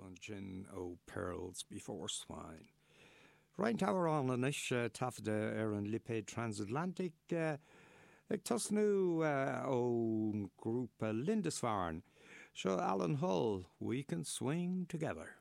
Ansin ó Pearls Before Swine. Roinnt amhrán anois taifeadta ar an lipéad Transatlantic, ag tosnú ón ngrúpa Lindisfarne. Seo Alan Hull, We Can Swing Together.